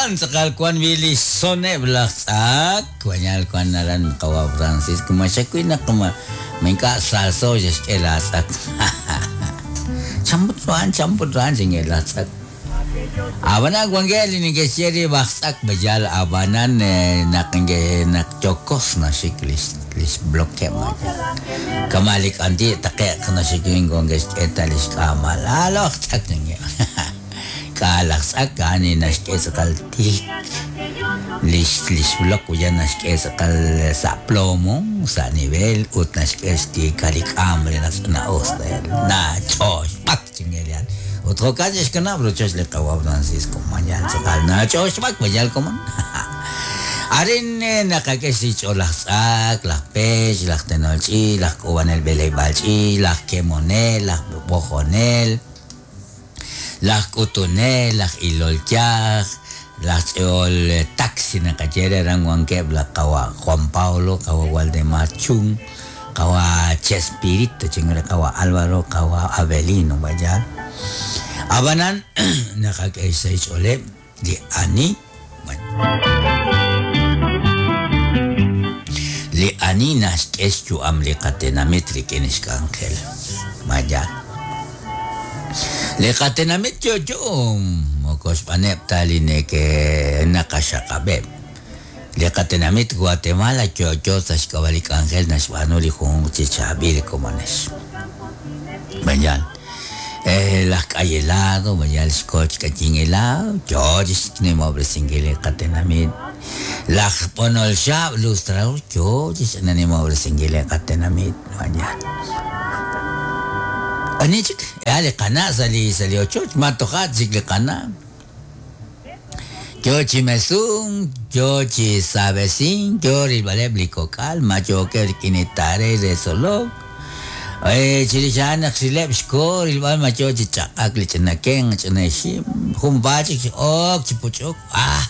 Jo'kan tz'aqal wan wi' li xsoneb' laj tz'ak, wañal wan aran qawa' Francisco, ma xawil naq ma ink'a' salso xe'xk'e laatz'ak. Chan put ru a'an, chan put ru a'an xinye laj tz'ak. Ab'anan wankeb' li neke'xye rib' aj tz'ak b'ayal ab'anan naq naq yokos naxik li xblokeb' kama' li k'anti' taqe'q naxik moko neke'xk'e ta li xk'aamal. Alo aj tz'ak ninye. K'a' laj tz'ak a'an li naxk'e tz'aqal tiik lix lix blok uyan naxk'e tz'aqal sa' plomo, sa' nivel ut naxk'e xtiikal li k'aam re naq ch'ina'us nach'oxb'ak chingelal. Ut jo'kan xe'xkanab' rochoch li qawa' Francisco Mayal tz'aqal nach'oxb'ak mayal komon. Arin naqak'e xch'ool laj tz'ak, laj pech, laj tenol ch'iich', laj k'uub'anel b'eleb'aal ch'iich', laj kemonel, laj b'ojonel. Laj k'utunel, laj ilol yaj, laj ch'e'ol taxi naqaye re aran wankeb' laj qawa' Juan Pablo, qawa' Waldemar Chun, qawa' Chespirito chin re qawa' Álvaro, qawa' Avelino Bayal. Ab'anan naqak'e xsahil xch'ooleb' li ani Li ani naxk'e xyu'am li qatenamit rik'in xk'anjel. Ma yaal? Li qatenamit yo'yo moko xb'aaneb' ta li naqaxaqab'eb'. Li qatenamit Guatemala yo'yo sa' xk'ab'a' li k'anjel naxb'aanu li junjunq chi chaab'il komonex. Ma yaal? Laj k'ay helado, ma yaal xko chi k'ayin helado, yo chi xnimob'resinkil li qatenamit. Laj b'onol xaab' lustrador, yo chi xnimob'resinkil li qatenamit, ma yaal. Ani chik? A li qana' sa' li sa' li ochoch, ma toja' chik li qana'. Yo chi mesunk, yo chi saab'esink, yo rilb'aleb' li kok'al, ma yookeb' rik'in li tare re tzolok. Chirix a'an naq xrileb' xko rilb'al ma yo chi chaq'ak li ch'ina kenq, ch'ina ixim, junpaat chik x'ok chi puch'uk, ah!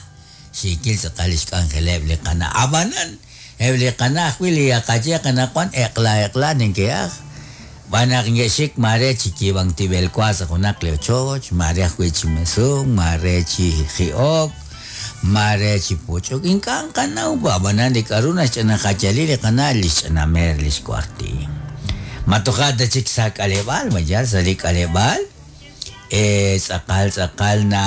Xiikil tz'aqal li xk'anjeleb' li qana'. Ab'anan, eb' li qana' ajwi' li qaye qanaqwan eq'la eq'la neke'aj, xb'aan naq neke'xik maare chi yiib'ank tib'el wa sa' junaq li ochoch, maare ajwi' chi mesunk, maare chi ji'ok, maare chi puch'uk. Ink'a' nqanaw, ab'anan li k'a'ru naxch'ina jayali li qana' li xch'ina meer li xwarti. Ma toja' ta chik sa' k'aleb'aal, ma yaal sa' li k'aleb'aal? Tz'aqal tz'aqal na.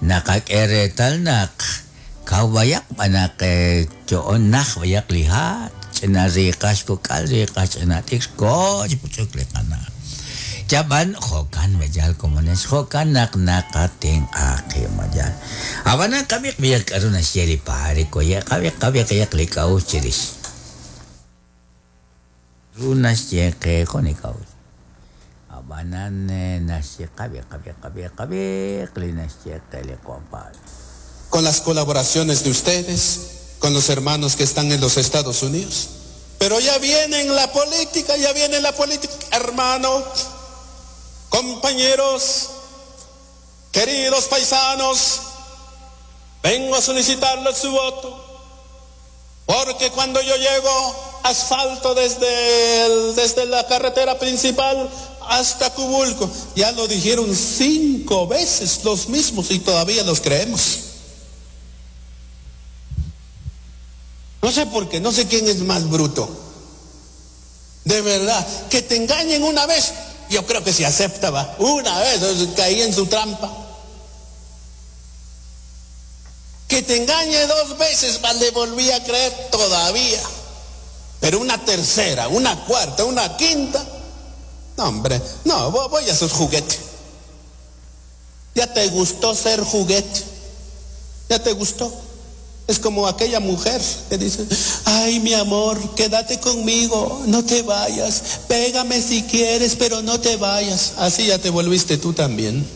Naqak'e reetal naq kaw b'ayaq b'an naq yo'on naj b'ayaq li ha', ch'ina riiqaj xkok'al, riiqaj ch'ina t'ikr, koho chi puch'uk li qana'. Yab'an jo'kan mayal komonex, jo'kan naq naqatenq'a qib' mayal. Ab'anan qab'iq b'ayaq k'a'ru naxye li paare koye', qab'iq qab'iq li k'a'uxl chirix. Ru naxye qe jun li k'a'uxl. Ab'anan naxye qab'i qab'i qab'i qab'iq li naxye qe li Juan Pablo. Con las colaboraciones de ustedes, con los hermanos que están en los Estados Unidos. Pero ya viene en la política, ya viene la política. Hermano, compañeros, queridos paisanos, vengo a solicitarles su voto. Porque cuando yo llego, asfalto desde, desde la carretera principal hasta Cubulco. Ya lo dijeron cinco veces los mismos y todavía los creemos. No sé por qué, no sé quién es más bruto. De verdad, que te engañen una vez, yo creo que se acepta, va. Una vez, caí en su trampa. Que te engañe dos veces, va, le volví a creer todavía. Pero una tercera, una cuarta, una quinta. No, hombre, no, voy a sus juguetes. Ya te gustó ser juguete. Ya te gustó. Es como aquella mujer que dice, ay mi amor, quédate conmigo, no te vayas, pégame si quieres, pero no te vayas. Así ya te volviste tú también.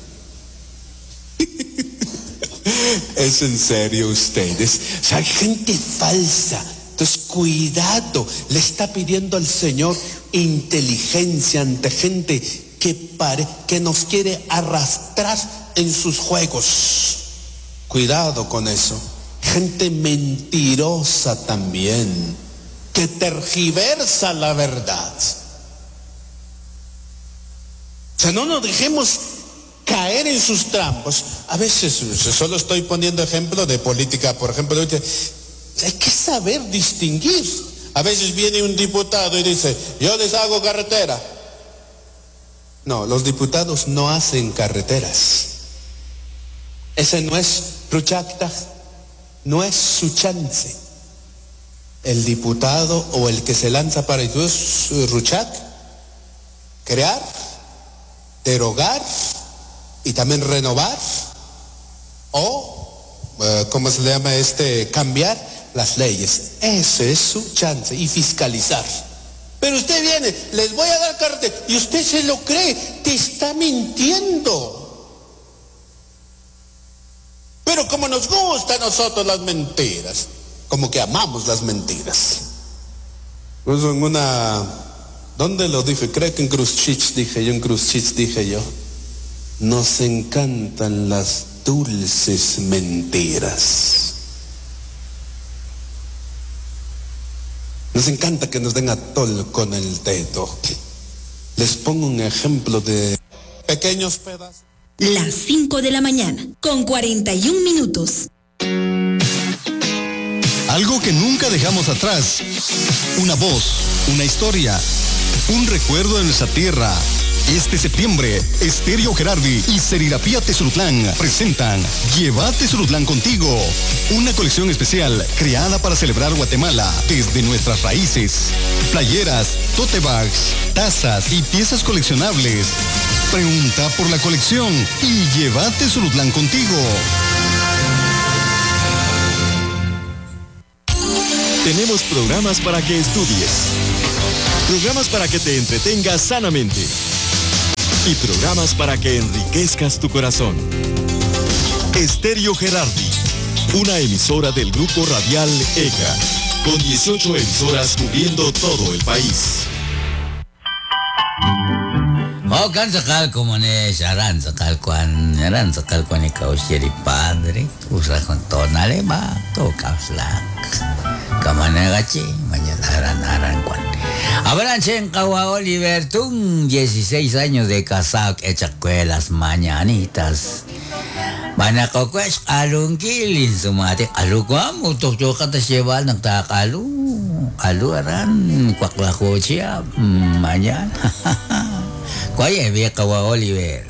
Es en serio ustedes. O sea, hay gente falsa. Entonces, cuidado. Le está pidiendo al Señor inteligencia ante gente que, pare, que nos quiere arrastrar en sus juegos. Cuidado con eso. Gente mentirosa también, que tergiversa la verdad. O sea, no nos dejemos caer en sus trampas. A veces, solo estoy poniendo ejemplo de política, por ejemplo, hay que saber distinguir. A veces viene un diputado y dice, yo les hago carretera. No, los diputados no hacen carreteras. Ese no es Ruchacta, no es su chance. El diputado o el que se lanza para Ruchak, crear, derogar y también renovar o, ¿cómo se le llama este? Cambiar las leyes. Ese es su chance y fiscalizar. Pero usted viene, les voy a dar carretera y usted se lo cree, te está mintiendo. Pero como nos gusta a nosotros las mentiras, como que amamos las mentiras. Pues en una, ¿dónde lo dije? Creo que en Cruz dije yo, en Cruz dije yo. Nos encantan las dulces mentiras. Nos encanta que nos den atol con el dedo. Les pongo un ejemplo de pequeños pedazos. Las 5 de la mañana, con 41 minutos. Algo que nunca dejamos atrás. Una voz, una historia, un recuerdo de nuestra tierra. Este septiembre, Estéreo Gerardi y Serigrafía Tezulutlán presentan Llévate Tezulutlán contigo, una colección especial creada para celebrar Guatemala desde nuestras raíces. Playeras, tote bags, tazas y piezas coleccionables. Pregunta por la colección y llévate Tezulutlán contigo. Tenemos programas para que estudies, programas para que te entretengas sanamente y programas para que enriquezcas tu corazón. Estéreo Gerardi, una emisora del Grupo Radial ECA, con 18 emisoras cubriendo todo el país. Oh, padre, usa con tonale ba, to kamanagachi, mañana aran kwan. Abalanche en Kawa Oliver, tun 16 años de casado, echa las mañanitas. Manakokwes, alungkilin, sumati, alukwam, utok yoka tas lleva, nagtakalu, alu aran, kwaklakochia, mañana. Kwaye, Kawa Oliver.